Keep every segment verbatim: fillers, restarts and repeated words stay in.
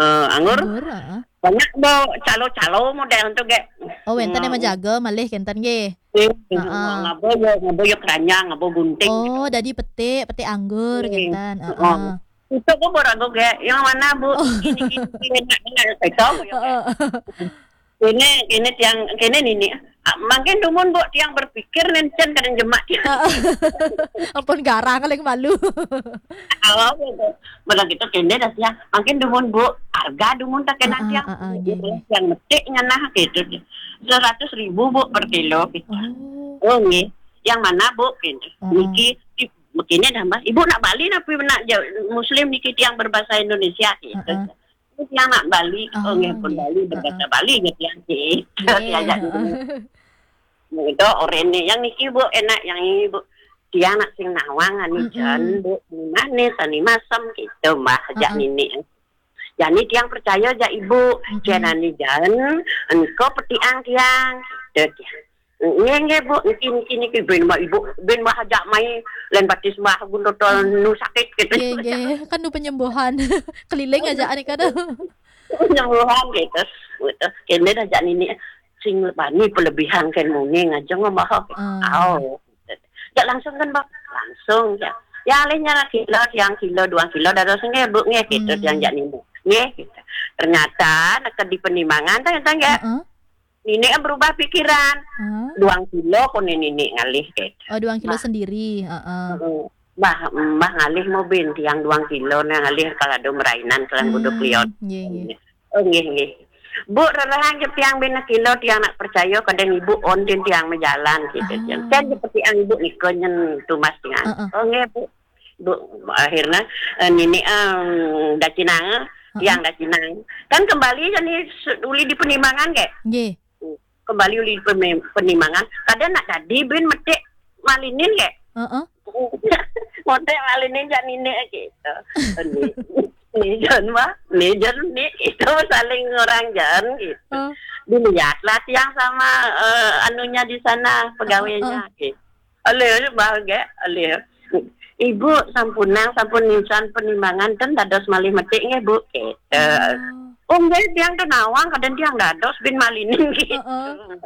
Eh, anggur. Anggur, heeh. Banyak bo calo-calo model tu ge. Oh, wenten yang menjaga malih kenten ge. Eh, heeh. Ngabo yo, ngabo yo keranjang, ngabo gunting. Oh, gitu. Dadi petik, petik anggur kenten. Heeh. Itu bo ragu ge, yang mana, Bu? Oh. Ini, ini, ini, enak, enak, itu, Bu, ya, heeh. Kene, kene tiang, kene nini. Ah, mangkin dumun, Bu, tiang berpikir nen cen kadang jemak tiang. Ampun garang, paling malu. Awal gitu. Malah gitu kene dah tiang. Mangkin dumun, Bu, harga dumun tak kena tiang. Heeh, heeh, nggih, nggih. Tiang metik ngenah gitu. Seratus ribu, Bu, per kilo gitu. Oh. Oh, nggih. Yang mana, Bu? Gitu. Heeh. Niki, begini dah, Mbak. Ibu nak Bali napi nak ja-, Muslim niki tiang berbahasa Indonesia gitu. Heeh. Terus yang nak Bali, oh, nggih, pun Bali, berbahasa Bali, nggih, tiang, nggih. Nggih, diajak heeh. Dulu. Itu orene yang niki, Bu, enak yang ini, Bu. Tiang nak sing nawang ani jan, Bu. Manis, ani masam gitu, Mbah, ajak nini. Jani tiang percaya ajak Ibu. Jan ani jan, engko petiang tiang. Gitu, tiang. Nggih, nggih, Bu. Niki, niki, niki. Ben, Mbah, Ibu. Ben, Mbah, ajak mai. Lain batis, Mbah, guntur tol nu sakit, gitu. Nggih, nggih. Kan nu penyembuhan. Keliling aja, ani kada. Penyembuhan, gitu. Gitu. Kene dah ajak nini. Sing bani pelebihan kan muni ngajeng, Mbah. Ah. Au. Jak langsung kan, Mbah? Langsung, ya. Ya, alih nyara kilo, tiang kilo, dua kilo, dados nggih, Bu, nggih, gitu, tiang jak nini. Nggih, gitu. Ternyata, neked di penimangan, tah, tah, nggih. Heeh. Nini berubah pikiran. Heeh. Dua kilo, kone nini ngalih, gitu. Oh, dua kilo sendiri, heeh. Heeh. Mbah, Mbah ngalih mau ben, tiang dua kilo, nah, ngalih kalau ada merainan, kalau kudu kliot. Nggih, nggih. Oh, nggih, nggih. Bu, rerehang je tiang ben kilo, tiang nak percaya, kadang Ibu on, tiang majalan, gitu, tiang. Kan seperti yang Ibu niko nyen tumas tiang. Heeh. Oh, nggih, Bu. Bu, akhirnya, eh, nini, em, dacinang, tiang dacinang. Kan kembali jadi se-, uli di penimangan, nggih? Nggih. Kembali uli peme-, penimangan. Kada nak dadi ben metik malinin, nggih? Heeh. Metik malinin jak nini gitu. Ni, ni jan, Mbah. Ni jan, ni itu saling orang jan gitu. Heeh. Dilihatlah tiang sama, eh, anunya di sana, pegawainya, gitu. Alih, Mbah, nggih, alih. Ibu, sampunang, sampun nisan penimangan, ten dados malih metik nggih, Bu, gitu. Oh. Oh, nggih, tiang ten nawang, kadang tiang dados ben malinin gitu. Heeh.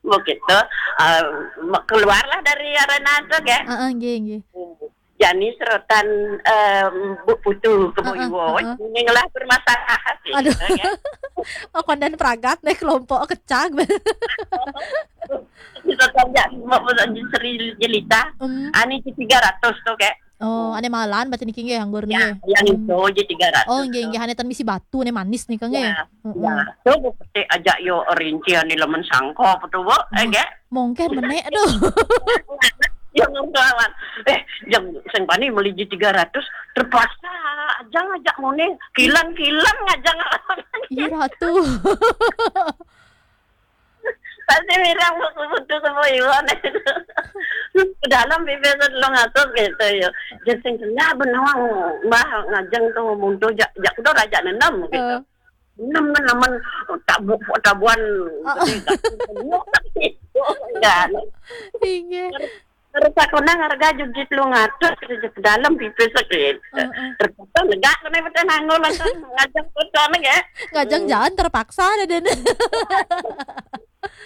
Begitu, eh, me-, keluarlah dari arena itu, nggih. Heeh, nggih, nggih. Jani serotan, eh, Bu Putu ke Bu Iwo, heeh. Ini ngelah permasalahan sih, aduh. Ya, nggih. Oh, kondan pragat nih kelompok kecag. Serotan ya, mau, mau Sri Jelita, hmm. Ani tiga ratus tuh, kayak. Oh, ane malan berarti niki nggih anggur niki. Ya, yang itu aja tiga ratus. Oh, nggih, nggih, ane tan misi batu, ane manis nih, Kang, nggih. Ya, ya. Tuh, Bu, petik aja yo rinci ane lemen sangko, apa tuh, Bu? Eh, nggih. Mungkin menek, aduh. Ya, ngomong lawan. Eh, jeng, sing bani meli ji tiga ratus, terpaksa aja ngajak muni, kilan-kilan ngajak ngelawan. Iya, Ratu. Pasti mirang buku-buku semua iwan. Ke dalam bibir tu tolong atur gitu ya. Jadi sing kena benawang, Mbah, ngajeng tu muntu jak, jak kuda raja nenam gitu. Heeh. Enam kan naman tabu-, tabuan. Oh. Gede, tak, enggak. Inggih. Terus aku nang harga jujit lu ngatur kerja ke dalam pipis sakit. Heeh. Terpaksa negak kena betul nangol langsung ngajak betul ya. Ngajeng jalan terpaksa ada dene.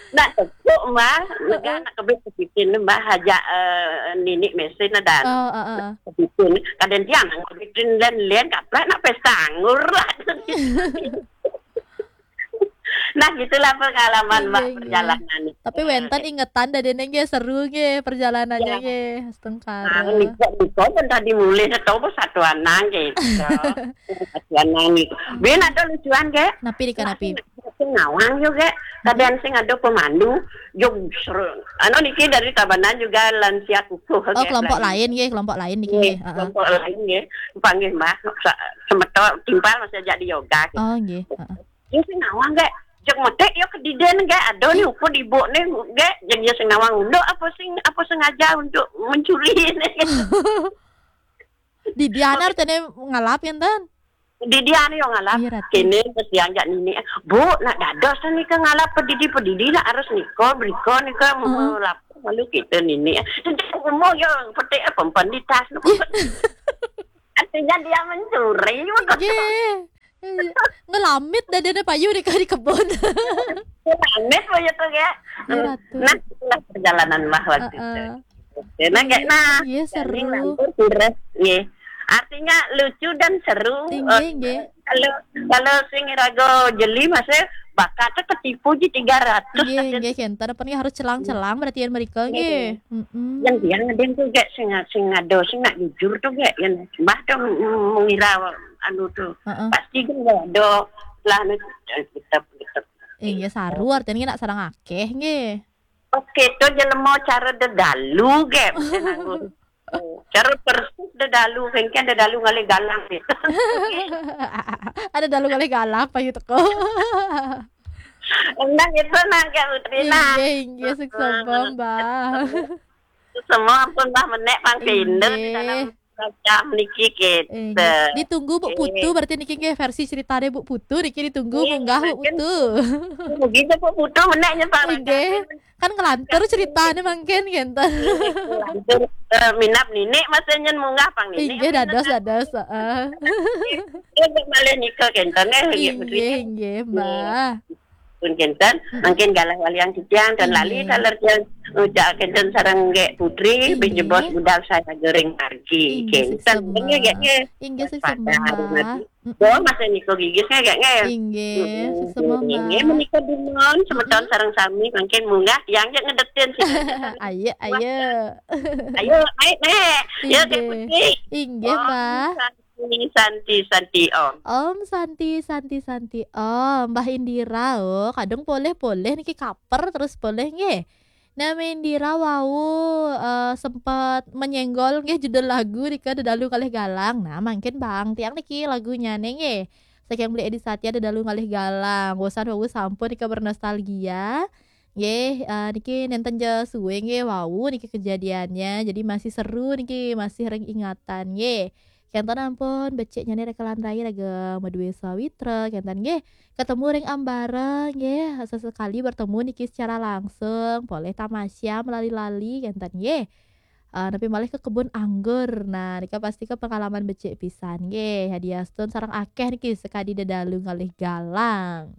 Nak tepuk, Mbah. Negak nak kebit kebitin, Mbah, aja, eh, nini mesin ada. Oh, heeh. Kebitin. Kadang tiang kebitin dan lian kaplek nak pesta anggur lah. Nah, gitulah pengalaman, Mbak, iya, iya. Perjalanan itu. Tapi wenten ingetan dah dene nggih seru nggih perjalanannya nggih. Astengkara. Nah, niko, niko pun tadi mulih atau satuan nang gitu. Satuan nang gitu. Bin ada lucuan, nggih. Napi, Rika, napi? Sing nawang juga. Kadang sing ada pemandu, jog seru. Anu niki dari Tabanan juga lansia kukuh, oh, nggih, kelompok lain nggih, kelompok lain niki nggih. Heeh. Kelompok lain nggih. Panggih, Mbak, sa-, semeton timpal masih ajak di yoga gitu. Oh, nggih. Heeh. Dia sing nawang, nggih. Jeng metik ya kediden, nggih. Ada nih ukur ibu nih, nggih. Jeng dia sing nawang unduk apa sing, apa sengaja untuk mencuri nih. Di dianar tene ngalap enten. Di dianar yo ngalap. Iya, Ratu. Kene terus dianjak nini. Bu, nak dados nih ke ngalap pedidi-pedidi nak harus niko, beriko nih ke, heeh, melap malu kita nini. Umur yo petik apa, empan di tas. Iya. Artinya dia mencuri, begitu. Iya. Ngelamit dadane payu di, di kebon. Ngelamit payu tuh ya. Nah, itulah perjalanan Mbah waktu itu. Oke, nah, kayak nah. Iya, seru. Iya. Artinya lucu dan seru. Iya, iya. Kalau, kalau sing rago jeli masih bakatnya ketipu di tiga ratus. Iya, iya, kenten apa nih harus celang-celang berarti yang mereka nggih. Yang dia ada yang tuh gak sing sing ado sing nak jujur tuh gak yang Mbah tuh mengira anu tuh. Pasti kan gak ada lah anu tetap tetap. Iya, saru artinya nak sarang akeh nggih. Oke, to jelema cara dedalu ge. Cara persis dedalu, mungkin dedalu ngalih galang gitu. Ada dalu ngalih galang apa gitu kok. Enggak gitu nah, Kak Putri nah. Iya, iya, sukses Mbak. Semua pun Mbak menek pang pindah di dalam Macam niki kita. Ditunggu Bu Putu berarti niki nggih versi ceritanya Bu Putu niki ditunggu munggah Bu Putu. Begitu Bu Putu meneknya Pak. Nggih. Kan ngelantur ceritanya mungkin gitu. Ngelantur uh, minap nini masanya munggah pang nini. Nggih dados dados. Heeh. Nggih malih nika kenten nggih. Nggih nggih Mbah. Pun kenten, mungkin galah waliang titiang dan lali taler tiang ucap kenten sareng gek putri, binjebos budal saya goreng margi. Kenten, nggih nggih. Inggih sesembah. Bo masih niko gigis nggih nggih. Inggih, sesembah. Inggih menika dumon semeton sareng sami mungkin munggah tiang jek ngedetin sih. Ayo ayo. Ayo naik naik. Ya gek putri. Inggih, Mbah. Santi Santi Om. Om Santi Santi Santi Om. Mbah Indira oh, kadung poleh-poleh niki kaper terus poleh nggih. Nah, Mbah Indira wau uh, sempat menyenggol nggih judul lagu nika Dedalu Kalih Galang. Nah, mungkin Bang tiang niki lagunya nggih. Saking beli Edi Satya Dedalu Kalih Galang. Bosan wau sampun nika bernostalgia. Nggih, uh, niki nenten je suwe nggih wau niki kejadiannya. Jadi masih seru niki, masih ring ingatan nggih. Kenten ampun becik nyane rekelan rai raga madue sawitra kenten nggih. Ketemu ring ambara nggih, sesekali bertemu niki secara langsung, poleh tamasya melali-lali kenten nggih. Uh, tapi malih ke kebun anggur. Nah, nika pasti ke pengalaman becik pisan nggih. Hadiah stone sarang akeh niki sekadi dedalu ngalih galang.